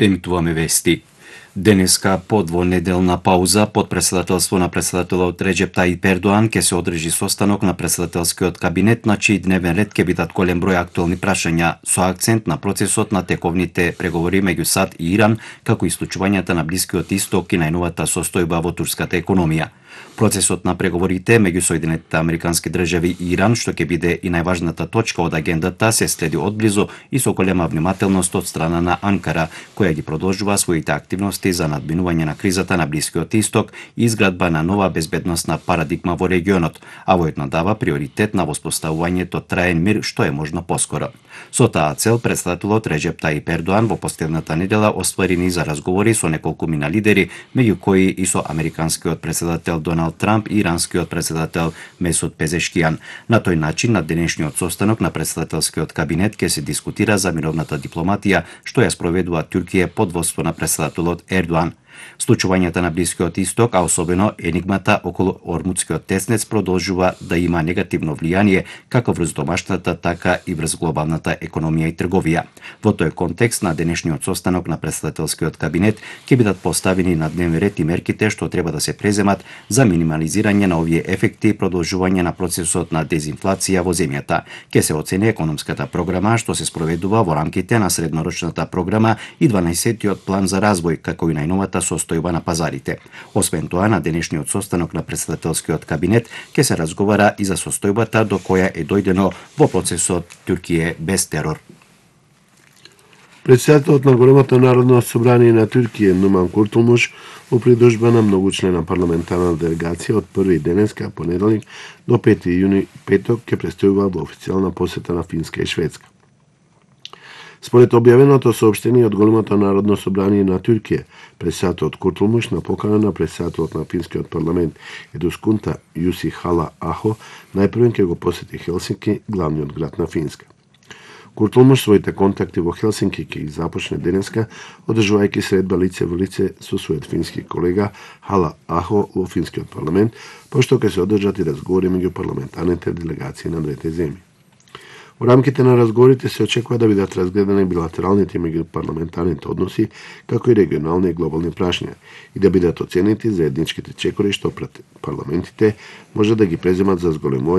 Емитуваме вести. Денеска по двонеделна пауза под председателство на председателот Реџеп Тајип Ердоан ќе се одржи состанок на председателскиот кабинет на чиј дневен ред ќе бидат голем број актуелни прашања со акцент на процесот на тековните преговори меѓу САД и Иран, како и случувањата на Блискиот Исток и најновата состојба во турската економија. Процесот на преговорите меѓу Соединетите Американски држави и Иран, што ќе биде и најважната точка од агендата, се следи одблизу и со голема внимателност од страна на Анкара, која ги продолжува своите активности за надминување на кризата на Блискиот Исток и изградба на нова безбедносна парадигма во регионот, а воедно дава приоритет на воспоставувањето траен мир што е можно поскоро. Со таа цел председателот Реџеп Тајип Ердоан во последната недела оствари низ разговори со неколку мина лидери, меѓу кои и со американскиот председател Доналд Трамп и иранскиот председател Месуд Пезешкијан. На тој начин, на денешниот состанок на председателскиот кабинет ќе се дискутира за мировната дипломатија што ја спроведува Туркија под воդство на председателот Ердоан. Случувањата на Блискиот Исток, а особено енигмата околу Ормудскиот теснец, продолжува да има негативно влијание како врз домашната, така и врз глобалната економија и трговија. Во тој контекст, на денешниот состанок на председателскиот кабинет ќе бидат поставени на дневен ред и мерките што треба да се преземат за минимализирање на овие ефекти и продолжување на процесот на дезинфлација во земјата. Ќе се оцени економската програма што се спроведува во рамките на среднорочната програма и 12-тиот план за развој, како и најновата состојба на пазарите. Освен тоа, на денешниот состанок на председателскиот кабинет ќе се разговара и за состојбата до која е дојдено во процесот Туркија без терор. Председателот на Големото народно собрание на Туркија Нуман Куртулмуш во придружба на многучлена парламентарна делегација од 1 денеска понеделник до 5 јуни петок ќе престојува во официјална посета на Финска и Шведска. Според објавеното соопштение од Големото народно собрание на Туркија, председателот Куртулмуш на покана на председателот на финскиот парламент Едускунта Јуси Хала Ахо најпрвен ќе го посети Хелсинки, главниот град на Финска. Куртулмуш своите контакти во Хелсинки ќе ги започне денеска, одржувајќи средба лице во лице со својот фински колега Хала Ахо во финскиот парламент, пошто ќе се одржат и разговори меѓу парламентарните делегации на двете земји. Во рамките на разговорите се очекува да бидат разгледани билатералните и меѓупарламентарните односи, како и регионални и глобални прашања, и да бидат оценети заедничките чекори што пред парламентите може да ги преземат за зголемување